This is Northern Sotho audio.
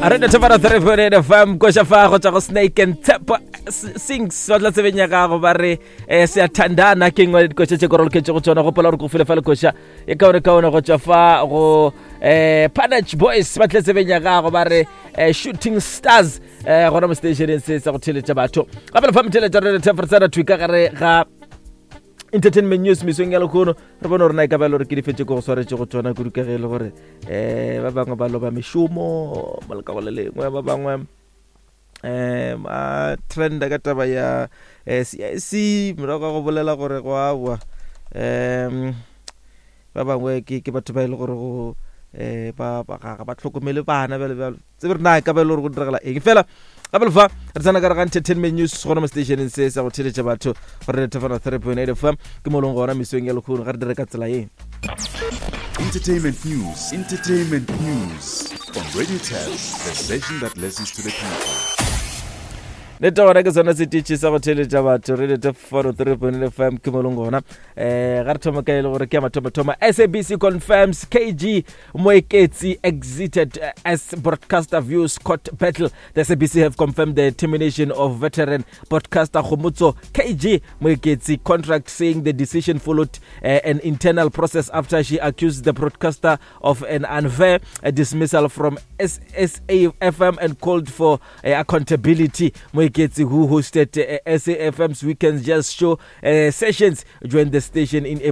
A re thefana 3.8 FM koša fa go tšwa go Snake and Tshepo Sings ba tla tsebeng ya gago ba re eh, seyathandana ke nngwe ya dikoša tše koroloketše go tšona. Gopola gore ko file fa lekoša e kaone kaone go tšwa fa go eh, Panach Boys ba tle tsebeng ya gago ba re eh, Shooting Stars eh, gona mo stationeng se sa go theletša batho. Gape le fa motheletša re thefretsana thwi ka gare ga Entertainment News mesong ya lekgono, re bone gore na e ka ba e le gore ke difetse ko go swaretše go tsona kudu, ka ge e le gore um ba bangwe ba loba mešomo mo lekago le lengwe, ba bangwe um a trenda ka taba ya eh, CIC morago ga go bolela gore go awa, um ba bangwe ke batho ba e le gore go um ba ga ba tlhokomele bana bjalo bjalo. Tsebe re na e ka ba e le gore go diragala eng fela. Gape lefa re tsena ka re ga Entertainment News gona mo stationeng se sa go theletša batho gore re thefana 3.8 FM ke mo leng gona mesong ya lekgono. Ga re dire ka tsela ye. Entertainment News, Entertainment News on Radio 10, the station that listens to the people. Nete gona ke sona setetšhe sa go theletša batho, re lete 403.8 FM ke mo leng gona. Um ga re thoma ka e le gore ke ya mathomothomo. SABC confirms KG Moeketsi exited as broadcaster views court battle. The SABC have confirmed the termination of veteran broadcaster Khomotso KG Moeketsi contract, saying the decision followed an internal process after she accused the broadcaster of an unfair dismissal from SAFM and called for accountability. Moeketsi, who hosted SAFM's Weekends Jazz Show sessions, joined the station in April.